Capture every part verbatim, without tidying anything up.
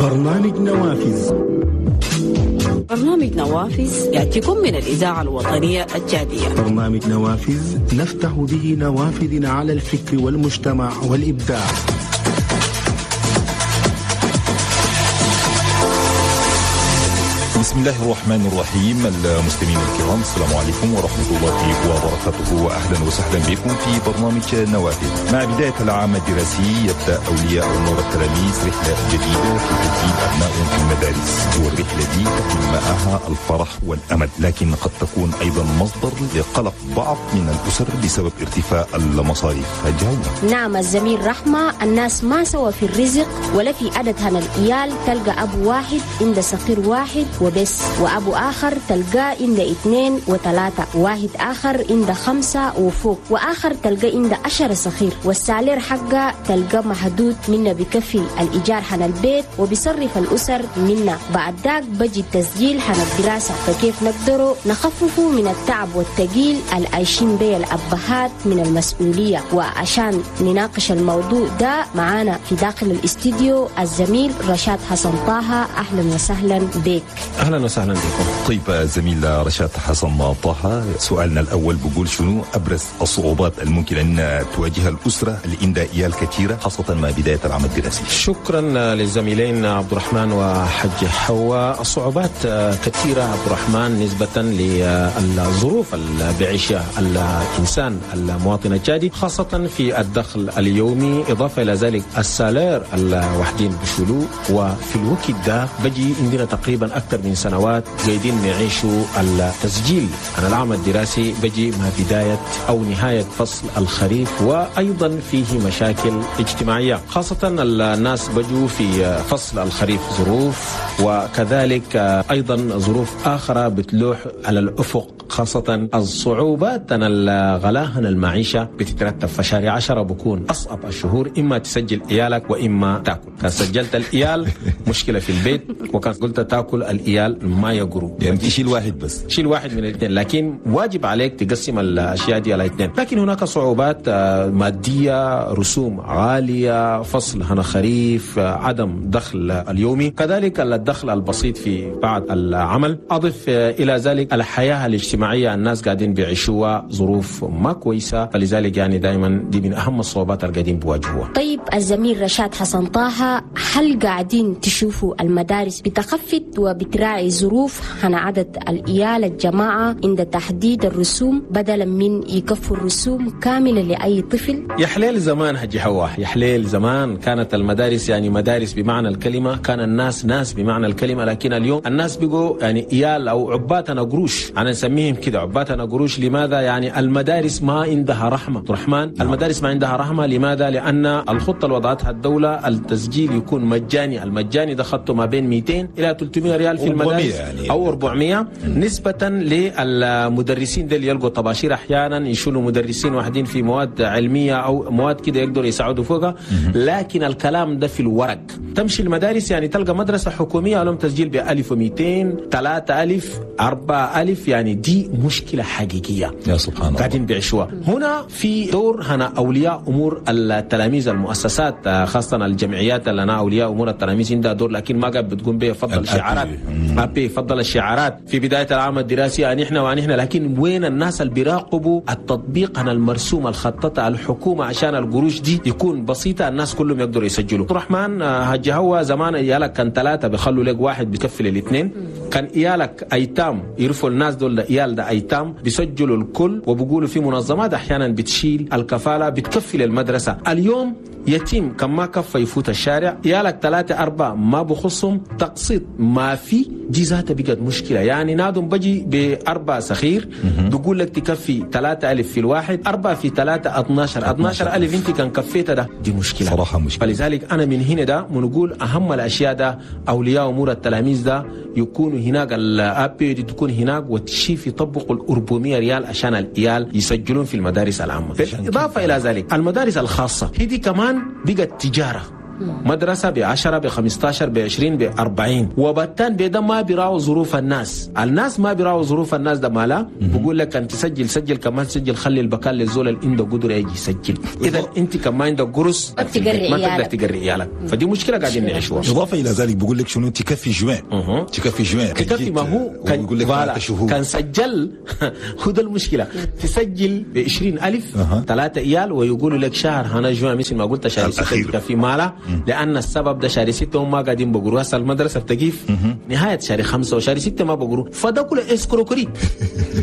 برنامج نوافذ. برنامج نوافذ يأتيكم من الإذاعة الوطنية التشادية. برنامج نوافذ نفتح به نوافذنا على الفكر والمجتمع والإبداع. بسم الله الرحمن الرحيم. المستمعين الكرام، السلام عليكم ورحمة الله وبركاته، وأهلا وسهلا بكم في برنامج نوافذ. مع بداية العام الدراسي يبدأ أولياء أمور التلاميذ رحلة جديدة في تسجيل أبنائهم في المدارس، والرحلة دي تكون معها الفرح والأمل، لكن قد تكون أيضا مصدر لقلق بعض من الأسر بسبب ارتفاع المصاريف. الجو. نعم الزميل رحمة، الناس ما سوى في الرزق ولا في عدد هنا الإيال، تلقى أبو واحد عند صغير واحد وبس، وأبو آخر تلقاه عند اثنين وثلاثة، واحد آخر عند خمسة وفوق، وآخر تلقاه عند عشرة صغير، والسالير حقه تلقاه محدود منا بكفي الإيجار حن البيت وبيصرف الأسر منا، بعد ذاك بجي التسجيل حن الدراسة. فكيف نقدروا نخففوا من التعب والتقيل العايشين بيه الأبهات من المسؤولية؟ وعشان نناقش الموضوع ده معانا في داخل الاستديو الزميل رشاد حسن طه. أهلا وسهلا بك. اهلا وسهلا بكم. طيب الزميل رشاد حسن طه، سؤالنا الاول بقول شنو ابرز الصعوبات الممكن ان تواجهها الاسرة اللي عندها عيال كثيرة خاصة مع بداية العام الدراسي؟ شكرا للزميلين عبد الرحمن وحج حواء. الصعوبات كثيرة عبد الرحمن نسبه للظروف اللي بيعيشها الانسان المواطن التشادي، خاصة في الدخل اليومي، اضافه الى ذلك ال salaire الوحدين بشلو، وفي الوقت ده بجي عندنا تقريبا اكثر من سنوات قاعدين نعيشوا التسجيل عن العام الدراسي بجي مع بداية أو نهاية فصل الخريف، وأيضا فيه مشاكل اجتماعية، خاصة الناس بجوا في فصل الخريف ظروف، وكذلك أيضا ظروف آخرى بتلوح على الأفق، خاصة الصعوبات الغلاء المعيشة بتترتب. فشهر عشرة بكون أصعب الشهور، إما تسجل إيالك وإما تأكل. كان سجلت الإيال مشكلة في البيت، وكان قلت تأكل الإيال ما يقروا، يعني تشيل واحد بس، شيل واحد من الاثنين، لكن واجب عليك تقسم الأشياء دي على اثنين. لكن هناك صعوبات مادية، رسوم عالية، فصل هنا خريف، عدم دخل اليومي، كذلك الدخل البسيط في بعض العمل. أضف إلى ذلك الحياة الاجتماعية، الناس قاعدين بيعيشوها ظروف ما كويسة، فلذلك يعني دائما دي من أهم الصعوبات اللي قاعدين بيواجهوها. طيب الزميل رشاد حسن طه، هل قاعدين تشوفوا المدارس بتخفض وبتراعي ظروف عن عدد الإيال الجماعة عند تحديد الرسوم بدلا من يكفوا الرسوم كاملة لأي طفل؟ يا حليل زمان هجي حوا، يا حليل زمان كانت المدارس يعني مدارس بمعنى الكلمة، كان الناس ناس بمعنى الكلمة، لكن اليوم الناس بيقوا يعني إيال أو عباتنا قروش، أنا نسميهم كده عباتنا قروش. لماذا؟ يعني المدارس ما عندها رحمة رحمن، المدارس ما عندها رحمة. لماذا؟ لأن الخطة اللي وضعتها الدولة التسجيل يكون مجاني، المجاني ده خطه ما بين مئتين إلى ثلاثمئة ريال في المدارس يعني أو أربعمئة، نسبة للمدرسين دول يلقوا طباشير أحيانا، يشيلوا مدرسين واحدين في مواد علمية أو مواد كده يقدروا يساعدوا فوقها، لكن الكلام ده في الورق. تمشي المدارس يعني تلقى مدرسة حكومية لهم تسجيل ب ألف ومئتين، ثلاثة ألف، أربعة ألف، يعني دي مشكلة حقيقية يا سبحان الله قاعدين بيعيشوها. هنا في دور هنا أولياء أمور التلاميذ، المؤسسات خاصة الجمعيات اللي أنا أولياء أمور التلاميذ عندها دور، لكن ما قاعد بتقوم به. فضل الشعارات، أبي فضل الشعارات في بداية العام الدراسي أن إحنا وأن إحنا، لكن وين الناس اللي بيراقبوا التطبيق عن المرسوم الخططة الحكومة عشان القروش دي يكون بسيطة الناس كلهم يقدروا يسجلوا؟ الرحمن هجي هو زمان إيالك كان ثلاثة بيخلوا لك واحد بيكفل الاثنين، كان إيالك أيتام يرفوا الناس دول إيال ده أيتام بيسجلوا الكل، وبيقولوا في منظمات أحيانا بتشيل الكفالة بتكفل المدرسة. اليوم يتيم كم ما كفى يفوت الشارع، يالك ثلاثة أربعة ما بخصهم، تقسيط ما في، دي ذاتها بقت مشكلة. يعني نادم بجي بأربع سخير بيقول لك تكفي ثلاثة ألف في الواحد، أربعة في ثلاثة اثناشر، اثناشر ألف أنت كان كفيتها ده، دي مشكلة صراحة مشكلة. فلذلك أنا من هنا ده بنقول أهم الأشياء ده أولياء أمور التلاميذ ده يكونوا هناك، الأبي دي تكون هناك، وتشيف يطبقوا الأربعمية ريال عشان الإيال يسجلون في المدارس العامة. بالإضافة إلى ذلك المدارس الخاصة هي دي كمان بقت تجارة. مدرسه ب عشرة ب خمستاشر ب عشرين ب أربعين، وبتان بيدا ما بيراعوا ظروف الناس. الناس ما بيراعوا ظروف الناس ده مالا بقول لك انت تسجل سجل كمان سجل، خلي البكال للزول اللي عنده قدره يجي يسجل. اذا انت كمان عندك قرص ما تقدر تقري عيالك، فدي مشكلة قاعدين نعيشوها. اضافه الى ذلك بقول لك شنو تكفي جوان، تكفي جوان تكفي، ما هو كان بيقول لك شهور كان سجل. هو ده المشكلة، تسجل ب عشرين ألف ثلاثة عيال ويقولوا لك شهر هنا جوان مثل ما قلت شهر ستة تكفي مالا، لان السبب ده شهر ستة هم ما قاعدين بقروا، هسه المدرسة بتقيف نهاية شهر خمسة وشهر ستة ما بقروا، فده كله escroquerie.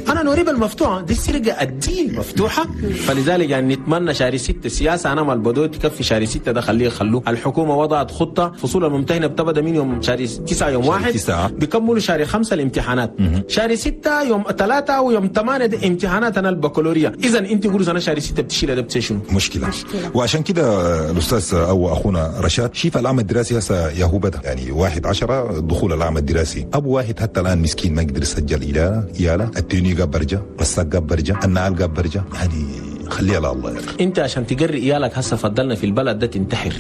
انا نوريب المفتوحة دي السرقة الدين مفتوحة. فلذلك يعني نتمنى شهر ستة سياسة انا ما البدو تكفي شهر ستة ده خليه خلوه. الحكومة وضعت خطه فصول الممتهنه بتبدا من يوم شهر تسعة يوم واحد بيكملوا شهر خمسة الامتحانات، شهر ستة يوم ثلاثة ويوم ثمانية دي امتحانات انا البكالوريا. اذا انت قولوا انا شهر ستة بتشيل ده بتشنو مشكلة. مشكلة. وعشان كده الاستاذ او اخونا رشاد شيف العام الدراسي هسه ياهو بدا يعني واحد عشرة دخول العام الدراسي، ابو واحد حتى الان مسكين ما يقدر يسجل الى يالا التوني قاب برجه، الساق قاب برجه، النعال قاب برجه، يعني خليها على الله. يعني انت عشان تقري عيالك هسه فضلنا في البلد ده تنتحر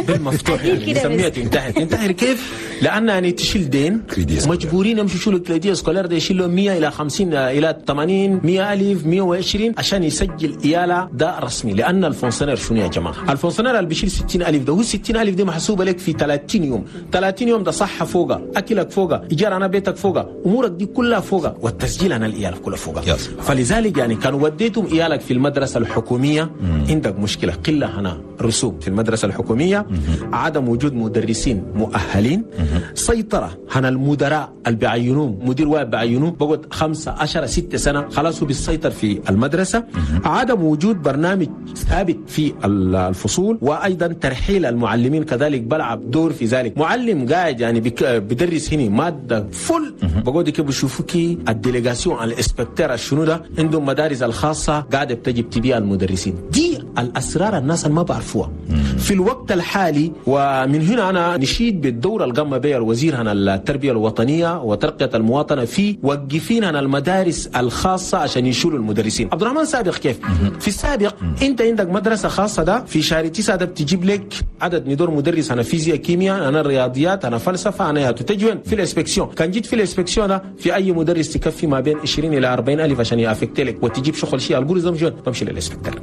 بالمفتوح، يعني نسميها تنتحر. تنتحر كيف؟ لان يعني تشيل دين، مجبورين يمشوا يشيلوا crédit scolaire ده، يشيلوا مية الى خمسين الى ثمانين مية ألف مية وعشرين عشان يسجل عياله ده رسمي. لان ال fonctionnaire شنو يا جماعة؟ ال fonctionnaire اللي بيشيل ستين ألف ده، هو ستين ألف دي محسوبة لك في ثلاثين يوم، ثلاثين يوم ده صحة فوقه، اكلك فوقه، ايجار انا بيتك فوقه، امورك دي كلها فوقه، والتسجيل انا العيال كلها فوقه. فلذلك يعني كانوا وديتهم عيالك في المدرسة الحكومية مم. عندك مشكلة، قلة هنا رسوب في المدرسة الحكومية، مم. عدم وجود مدرسين مؤهلين، مم. سيطرة هنا المدراء اللي بعينوهم، مدير واحد بعينوه بقعد خمسة عشرة ستة سنة خلاص هو بيسيطر في المدرسة، مم. عدم وجود برنامج ثابت في الفصول، وأيضا ترحيل المعلمين كذلك بلعب دور في ذلك. معلم قاعد يعني بدرس هنا مادة فل بقعد كيف بشوفوكي ال délégation ال inspecteur الشنو ده عندهم مدارس الخاصة قاعدة بتجيب تبيع المدرسين. دي الأسرار الناس ما بعرفوها في الوقت الحالي. ومن هنا أنا نشيد بالدور اللي قام به الوزير هنا التربية الوطنية وترقية المواطنة في وقفين هنا المدارس الخاصة عشان يشيلوا المدرسين. عبد الرحمن سابق كيف؟ في السابق أنت عندك مدرسة خاصة ده في شهر تسعة ده بتجيب لك عدد ندور مدرس أنا فيزياء كيمياء أنا رياضيات أنا فلسفة أنا تجوين في ال inspection. كان جيت في ال inspection ده في أي مدرس تكفي ما بين عشرين إلى أربعين ألف عشان ي affecter لك وتجيب شغل شيء الجوريزم جون بمشي لل inspecteur.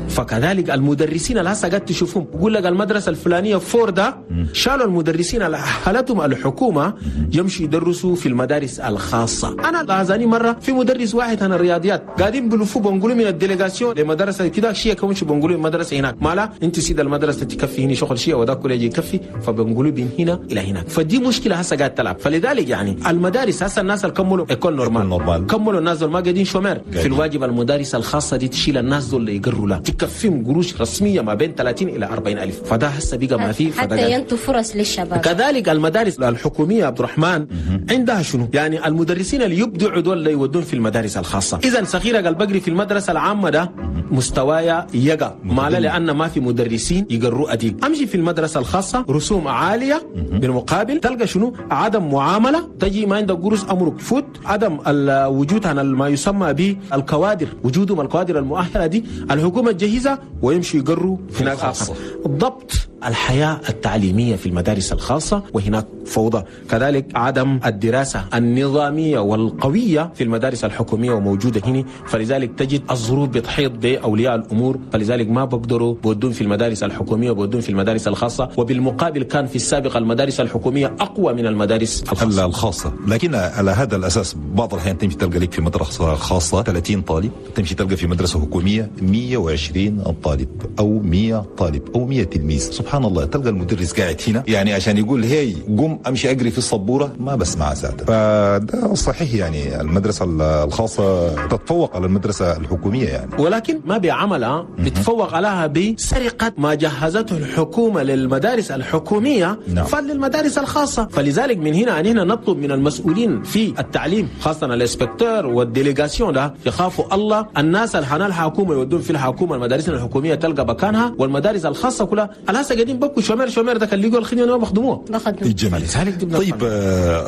فكذلك المدرسين اللي هسه قاعد تشوفهم بقول لك المدرسة الفلانية فور ده شالوا المدرسين على حالتهم الحكومة يمشوا يدرسوا في المدارس الخاصة. انا لاحظاني مرة في مدرس واحد انا الرياضيات قاعدين بلفوا بنقولوا من ال délégation لمدرسة كده شيء كمان بنقولوا المدرسة هناك مالا انت سيد المدرسة تكفي هنا شغل شيء وده كله يجي يكفي، فبنقولوا بين هنا الى هناك. فدي مشكلة هسه قاعد تلعب. فلذلك يعني المدارس هسه الناس اللي كملوا école normale كملوا الناس ما قاعدين chômeurs في الواجب المدارس الخاصة دي تشيل الناس دول اللي يقروا لها تكفيهم قروش رسمية ما بين ثلاثين الى أربعين ألف. فده هسه بقى ما فيه حتى ينطوا فرص للشباب. كذلك المدارس الحكومية عبد الرحمن عندها شنو؟ يعني المدرسين اللي يبدعوا دول اللي يودون في المدارس الخاصة. اذا صغيرة البقري في المدرسة العامة ده مستوايا يقع ما لا لان ما في مدرسين يقروا اديل. امشي في المدرسة الخاصة رسوم عالية بالمقابل تلقى شنو؟ عدم معاملة، تجي ما عندك قروش امرك فوت، عدم الوجود عن ما يسمى بالكوادر، وجودهم الكوادر المؤهله دي الحكومة الجاهزة ويمشوا يقروا هناك آخر. ضبط الحياة التعليمية في المدارس الخاصة وهناك فوضى. كذلك عدم الدراسة النظامية والقوية في المدارس الحكومية وموجودة هنا، فلذلك تجد الظروف بتحيط بأولياء الأمور، فلذلك ما بقدروا بودون في المدارس الحكومية وبودون في المدارس الخاصة. وبالمقابل كان في السابق المدارس الحكومية أقوى من المدارس الخاصة. الخاصة. لكن على هذا الأساس بعض الأحيان تمشي تلقى لك في مدرسة خاصة ثلاثين طالب، تمشي تلقى في مدرسة حكومية مية وعشرين طالب أو مية طالب أو مية تلميذ. سبحان الله تلقى المدرس قاعد هنا يعني عشان يقول هي قم امشي اجري في السبوره ما بسمع ذاته. فده صحيح يعني المدرسة الخاصة تتفوق على المدرسة الحكومية يعني، ولكن ما بعملها بتفوق عليها بسرقه ما جهزته الحكومة للمدارس الحكومية. نعم. فللمدارس الخاصة. فلذلك من هنا هنا نطلب من المسؤولين في التعليم خاصة ال inspecteur وال délégation ده يخافوا الله. الناس الحنا الحكومة يودون في الحكومة المدارس الحكومية تلقى مكانها، والمدارس الخاصة كلها الهسه قاعدين بكوا chômeurs chômeurs ده اللي يقول الخدمة ما بخدموه. جميل. فلذلك دي طيب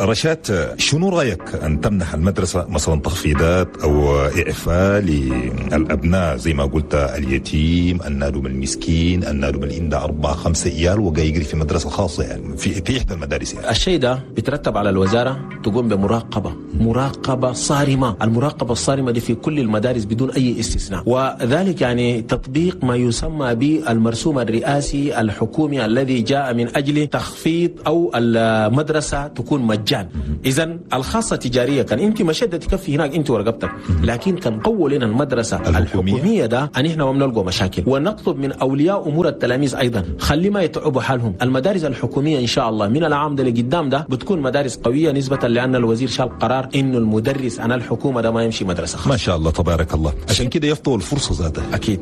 رشاد، شنو رايك ان تمنح المدرسة مثلا تخفيضات او اعفاء للابناء زي ما قلت اليتيم، النادم المسكين، النادم اللي عنده اربعة خمسة عيال وجاي يقري في مدرسه خاصة يعني في في احدى المدارس يعني. الشيء ده بيترتب على الوزارة تقوم بمراقبة، مراقبة صارمة، المراقبة الصارمة دي في كل المدارس بدون اي استثناء، وذلك يعني تطبيق ما يسمى بالمرسوم الرئاسي الحكومي الذي جاء من اجل تخفيض او المدرسة تكون مجان. اذا الخاصة تجارية كان انت مشيت تكفي هناك انت ورقبتك، لكن كان قووا لنا المدرسة الحكومية, الحكومية ده ان احنا ما بنلقوا مشاكل. ونطلب من اولياء امور التلاميذ ايضا خلي ما يتعبوا حالهم، المدارس الحكومية ان شاء الله من العام ده لقدام ده بتكون مدارس قوية، نسبه لان الوزير شال قرار انه المدرس انا الحكومة ده ما يمشي مدرسه خاصة. ما شاء الله تبارك الله، عشان كده يفضل الفرصة ذاتها. اكيد.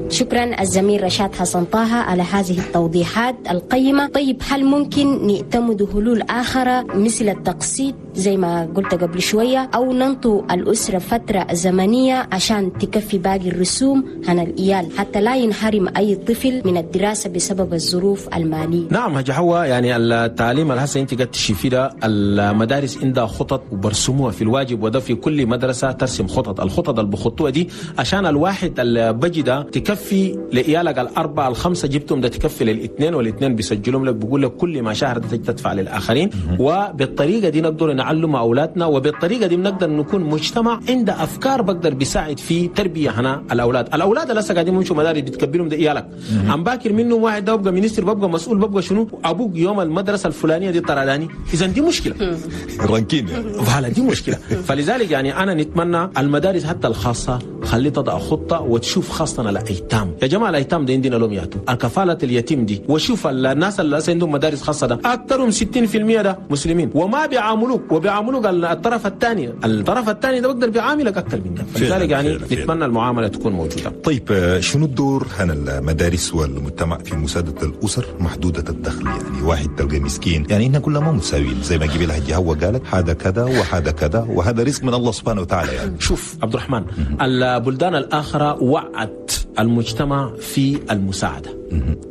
شكرا الزميل رشاد حسن طه على هذه التوضيحات القيمة. طيب هل ممكن نعتمد حلول اخرى مثل التقسيط زي ما قلت قبل شوية، او ننطو الاسرة فترة زمنية عشان تكفي باقي الرسوم عن الإيال حتى لا ينحرم اي طفل من الدراسة بسبب الظروف المالية؟ نعم هجا حوا، يعني التعليم الهسه انت قد تشوفي ده المدارس عندها خطط وبرسموها في الواجب، وده في كل مدرسه ترسم خطط، الخطط اللي بخطوها دي عشان الواحد اللي بجي ده تكفي لإيالك الاربعة الخمسة جبتهم ده تكفي للاثنين، والاثنين بيسجلهم لك بيقول لك كل ما شهر ده تدفع للاخرين. وبالطريقه دي نقدر نعلم اولادنا، وبالطريقه دي بنقدر نكون مجتمع عنده افكار بقدر بيساعد في تربيه هنا الاولاد. الاولاد اللي لسه قاعدين يمشوا مدارس بتكبرهم ده إيالك، عم باكر منه واحد ده ببقى ministre، ببقى مسؤول، ببقى شنو ابوك يوم المدرسة الفلانية دي طرداني. اذا دي مشكلة رنكين يعني. فعلا دي مشكلة. فلذلك يعني انا نتمنى المدارس حتى الخاصة خلي تضع خطه وتشوف خاصة الايتام. يا جماعة الايتام ده عندنا لهم ياتوا الكفاله اليتيم دي، وشوف الناس اللي عندهم مدارس خاصة ده اكثرهم ستين بالمية ده مسلمين، وما بيعاملوك وبيعاملوك الطرف الثاني، الطرف الثاني ده بقدر بيعاملك اكثر منك. فلذلك يعني فعلا فعلا. نتمنى المعاملة تكون موجودة. طيب شنو الدور هنا المدارس والمجتمع في مساعدة الاسر محدودة الدخل؟ يعني واحد تلقى مسكين، يعني احنا كلنا ما متساويين زي ما جبل الحجة هو قالت، هذا كذا وهذا كذا وهذا رزق من الله سبحانه وتعالى يعني. شوف عبد الرحمن، البلدان الاخرى وعت المجتمع في المساعدة،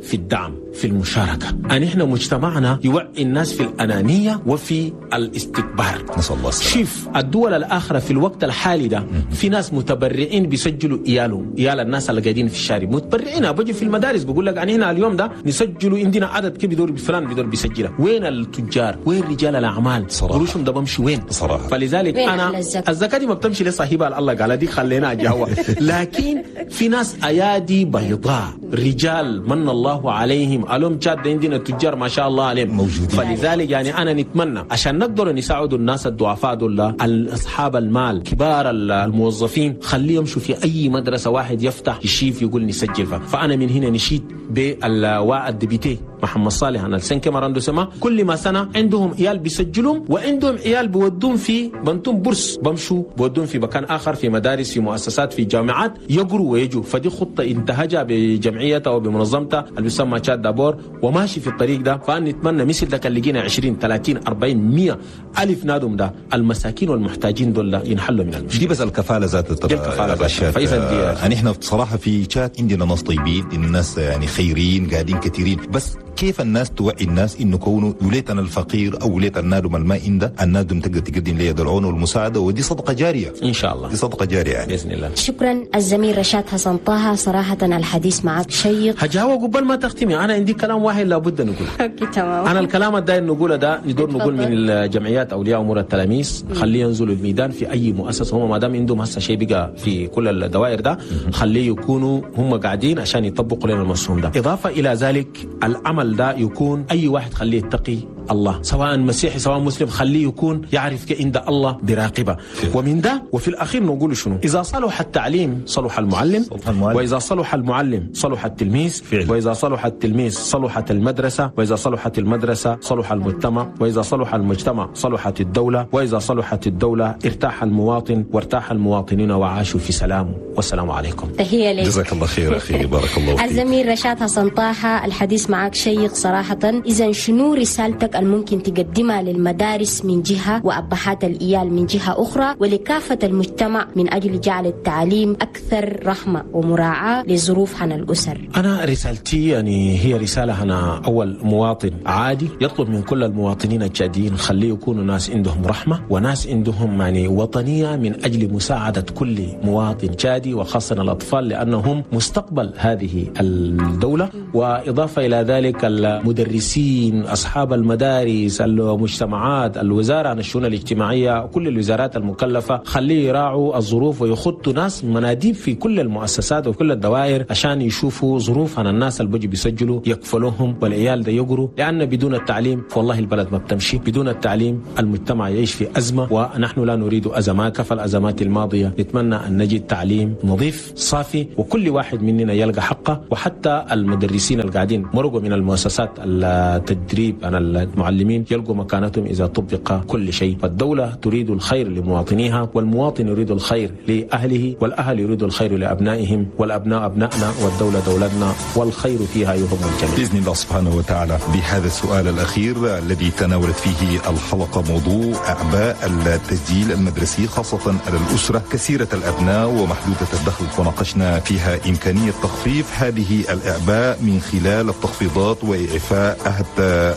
في الدعم، في المشاركة. أن إحنا مجتمعنا يوعي الناس في الأنانية وفي الاستكبار. نسأل الله السلامة. شوف الدول الآخرة في الوقت الحالي ده في ناس متبرعين بيسجلوا إيالهم، إيال الناس اللي قاعدين في الشارع متبرعين، بيجوا في المدارس بيقول لك أن إحنا اليوم ده نسجلوا عندنا عدد كبير بدور فلان بدور بيسجله. وين التجار؟ وين رجال الأعمال؟ قروشهم ده بمشي وين؟ صراحة. فلذلك أنا الزكاة دي ما بتمشي لصاحبها، الله قال دي خلينا جوا. لكن في ناس أيادي بيضاء، رجال من الله عليهم، ألوم جاد عندنا تجار ما شاء الله عليهم موجودين. فلذلك يعني أنا نتمنى عشان نقدر نساعد الناس الضعفاء دول، أصحاب المال، كبار الموظفين، خليهم يمشوا في أي مدرسة واحد يفتح يشيف يقول نسجل. فأنا من هنا نشيد بالواء ال député محمد صالح أنا ال cinquième arrondissement، كل ما سنة عندهم عيال بيسجلهم وعندهم عيال بودون في بنتم bourse، بمشوا بودون في مكان آخر، في مدارس، في مؤسسات، في جامعات، يقروا ويجوا. فدي خطة انتهجها بجمعيته أو بمنظمته اللي بيسمى تشاد دابور، وماشي في الطريق ده. فأنا نتمنى مثل ده كان لقينا عشرين ثلاثين أربعين مية ألف نادم ده المساكين والمحتاجين دول ينحلوا من المشكلة دي. بس الكفالة ذات الكفالة ذات. فإذا دي يعني احنا بصراحة في تشاد عندنا ناس طيبين، الناس يعني خيرين قاعدين كثيرين، بس كيف الناس توعي الناس انه كونه وليت انا الفقير او وليت النادم الماء عنده النادم تقدر تقدم لي العون والمساعدة، ودي صدقه جارية ان شاء الله، دي صدقه جارية يعني باذن الله. شكرا الزميل رشاد حسن طه، صراحة الحديث معك شيق. هجاوة قبل ما تختمي انا عندي كلام واحد لابد نقوله. okay تمام. انا الكلام الداير نقوله ده ندور نقول من الجمعيات اولياء امور التلاميذ خليه ينزلوا الميدان في اي مؤسسة، هم ما دام عندهم هسه شيء بقى في كل الدوائر ده خليه يكونوا هم قاعدين عشان يطبقوا لنا المرسوم ده. اضافه الى ذلك العمل ده يكون أي واحد خليه يتقي الله، سواء مسيحي سواء مسلم، خليه يكون يعرف عند الله براقبة. ومن ده وفي الأخير نقول شنو؟ إذا صلح التعليم صلح المعلم، المعلم. وإذا صلح المعلم صلح التلميذ، فعلا. وإذا صلح التلميذ صلحت المدرسة، وإذا صلحت المدرسة صلح المجتمع، وإذا صلح المجتمع صلحت الدولة، وإذا صلحت الدولة ارتاح المواطن وارتاح المواطنين وعاشوا في سلام. والسلام عليكم. تحية لك. جزاك الله خير أخي، بارك الله فيك. الزميل رشاد حسن طه، الحديث معك شيق صراحة. إذا شنو رسالتك الممكن تقدمها للمدارس من جهة وأبهات الإيال من جهة أخرى ولكافة المجتمع من أجل جعل التعليم أكثر رحمة ومراعاة لظروف عن الأسر؟ أنا رسالتي يعني هي رسالة، أنا أول مواطن عادي يطلب من كل المواطنين التشاديين خليه يكونوا ناس عندهم رحمة وناس عندهم يعني وطنية من أجل مساعدة كل مواطن تشادي وخاصة الأطفال لأنهم مستقبل هذه الدولة. وإضافة إلى ذلك المدرسين، أصحاب المدارس، المجتمعات، الوزارة عن الشؤون الاجتماعية، كل الوزارات المكلفة خليه يراعوا الظروف ويخطوا ناس مناديب في كل المؤسسات وكل الدوائر عشان يشوفوا ظروف عن الناس اللي بيجي بيسجلوا يكفلوهم والعيال ده يقروا، لأن بدون التعليم والله البلد ما بتمشي، بدون التعليم المجتمع يعيش في أزمة، ونحن لا نريد أزمات كفى الأزمات الماضية. نتمنى أن نجد تعليم نظيف صافي وكل واحد مننا يلقى حقه، وحتى المدرسين القاعدين مرقوا من المؤسسات التدريب عن المعلمين يلقوا مكانتهم إذا طبق كل شيء. فالدولة تريد الخير لمواطنيها، والمواطن يريد الخير لأهله، والأهل يريد الخير لأبنائهم، والأبناء أبنائنا، والدولة دولتنا، والخير فيها يهم الجميع بإذن الله سبحانه وتعالى. بهذا السؤال الأخير الذي تناولت فيه الحلقة موضوع أعباء التسجيل المدرسي خاصة على الأسرة كثيرة الأبناء ومحدودة الدخل، وناقشنا فيها إمكانية تخفيف هذه الأعباء من خلال التخفيضات وإعفاء أحد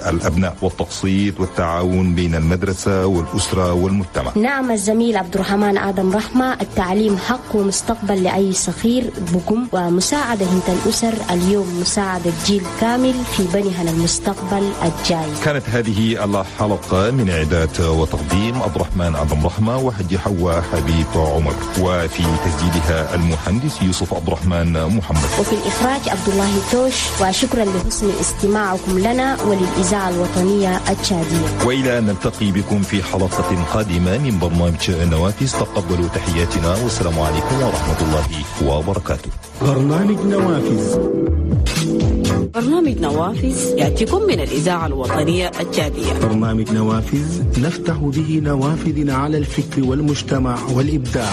الأبناء والتقسيط والتعاون بين المدرسة والأسرة والمجتمع. نعم الزميل عبد الرحمن آدم رحمة، التعليم حق ومستقبل لأي صغير بقم، ومساعدة هنت الأسر اليوم مساعدة جيل كامل في بنيها المستقبل الجاي. كانت هذه الحلقة من إعداد وتقديم عبد الرحمن آدم رحمة وحجي حواء حبيب عمر، وفي تسجيلها المهندس يوسف عبد الرحمن محمد، وفي الإخراج عبد الله توش. وشكرا لحسن استماعكم لنا وللإذاعة الوطنية التشادية، وإلى أن نلتقي بكم في حلقة قادمة من برنامج نوافذ، تقبلوا تحياتنا والسلام عليكم ورحمة الله وبركاته. برنامج نوافذ. برنامج نوافذ يأتيكم من الإذاعة الوطنية التشادية. برنامج نوافذ نفتح به نوافذنا على الفكر والمجتمع والإبداع.